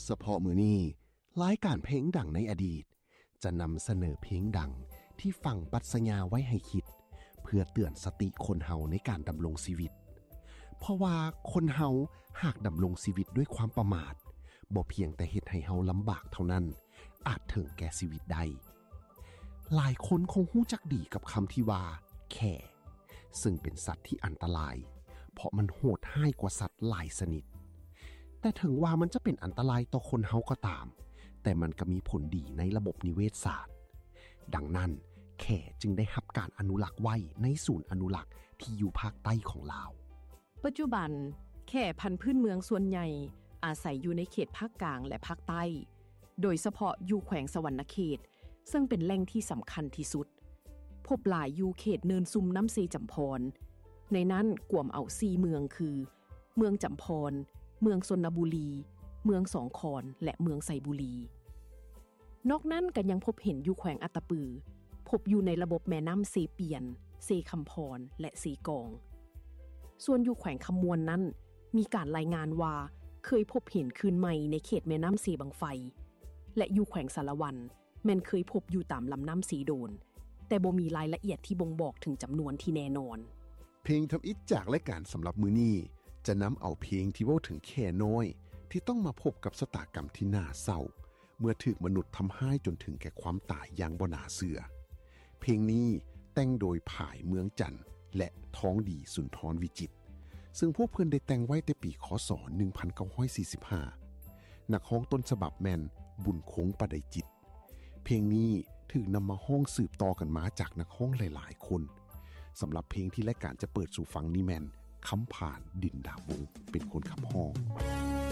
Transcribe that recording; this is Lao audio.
ສະເພາະມື້ນີ້, ລາຍການເພງດັງໃນອະດີດ ຈະນຳສະເໜີເພງດັງທີ່ຝັງປັດຊະຍາໄວ້ໃຫ້ຄິດ ເພື່ອເຕືອນສະຕິຄົນເຮົາໃນການດຳລົງຊີວິດ. ເພາະວ່າຄົນເຮົາຫາກດຳລົງຊີວິດດ້ວຍຄວາມປະໝາດ, ບໍ່ພຽງແຕ່ເຮັດໃຫ້ເຮົາລຳບາກເທົ່ານັ້ນ, ອາດເຖິງແກ່ຊີວິດໄດ້. ຫຼາຍຄົນຄົງຮູ້ຈັກດີກັບຄຳທີ່ວ່າ ແຂ້ ເຊິ່ງເປັນສັດທີ່ອັນຕະລາຍ ເພາະມັນໂຫດຮ້າຍກວ່າສັດຫຼາຍຊະນິດ. ແຕ່ເຖິງວ່າມັນຈະເປັນອັນຕະລາຍຕໍ່ຄົນເຮົາກໍຕາມ, ແຕ່ມັນກໍມີຜົນດີໃນລະບົບນິເວດສາດ. ດັ່ງນັ້ນ, ແຂ້ຈຶ່ງໄດ້ຮັບການອະນຸລັກໄວ້ໃນສູນອະນຸລັກທີ່ຢູ່ພາກໃຕ້ຂອງລາວ. ປັດຈຸບັນ, ແຂ້ພັນພື້ນເມືອງສ່ວນໃຫຍ່ອາໄສຢູ່ໃນເຂດພາກກາງ ແລະ ພາກໃຕ້, ໂດຍສະເພາະຢູ່ແຂວງສະຫວັນນະເຂດ, ເຊິ່ງເປັນແຫຼ່ງທີ່ສຳຄັນທີ່ສຸດ. ພົບຫຼາຍຢູ່ເຂດເນີນຊຸ່ມນ້ຳເຊຈຳພອນ, ໃນນັ້ນກວມເອົາສີ່ເມືອງຄື ເມືອງຈຳພອນ, ເມືອງຊົນນະບູລີ, ເມືອງສອງຄອນ ແລະ ເມືອງໄຊບູລີ. ນອກນັ້ນກໍຍັງພົບເຫັນຢູ່ແຂວງອັດຕະປື, ພົບຢູ່ໃນລະບົບແມ່ນ້ຳເຊປຽນ, ເຊຄຳພອນ ແລະ ເຊກອງ. ສ່ວນຢູ່ແຂວງຄຳມ່ວນນັ້ນ, ມີການລາຍງານວ່າເຄີຍພົບເຫັນຄືນໃໝ່ໃນເຂດແມ່ນ້ຳເຊບັ້ງໄຟ ແລະ ຢູ່ແຂວງສາລະວັນ ແມ່ນເຄີຍພົບຢູ່ຕາມລຳນ້ຳເຊໂດນ, ແຕ່ບໍ່ມີລາຍລະອຽດທີ່ບົ່ງບອກເຖິງຈຳນວນທີ່ແນ່ນອນ. ເພງທຳອິດຈາກລາຍການສຳລັບມື້ນີ້ ຈະນຳເອົາເພງທີ່ເວົ້າເຖິງແຂ້ນ້ອຍ ທີ່ຕ້ອງມາພົບກັບຊະຕາກຳທີ່ໜ້າເສົ້າ ເມື່ອຖືກມະນຸດທຳຮ້າຍຈົນເຖິງແກ່ຄວາມຕາຍຢ່າງບໍ່ໜ້າເຊື່ອ. ເພງນີ້ແຕ່ງໂດຍ ຜາຍ ເມືອງຈັນ ແລະ ທອງດີ ສຸນທອນວິຈິດ, ເຊິ່ງພວກເພິ່ນໄດ້ແຕ່ງໄວ້ແຕ່ປີ ຄ.ສ. ໜຶ່ງພັນເກົ້າຮ້ອຍສີ່ສິບຫ້າ. ນັກຮ້ອງຕົ້ນສະບັບແມ່ນ ບຸນຄົງ ປະໄດຈິດ. ເພງນີ້ຖືກນຳມາຮ້ອງສືບຕໍ່ກັນມາຈາກນັກຮ້ອງຫຼາຍໆຄົນ. ສຳລັບເພງທີ່ລາຍການຈະເປີດສູ່ຟັງນີ້ແມ່ນ ຄຳຜານ ດິນດາວົງ ເປັນຄົນຂັບຮ້ອງ.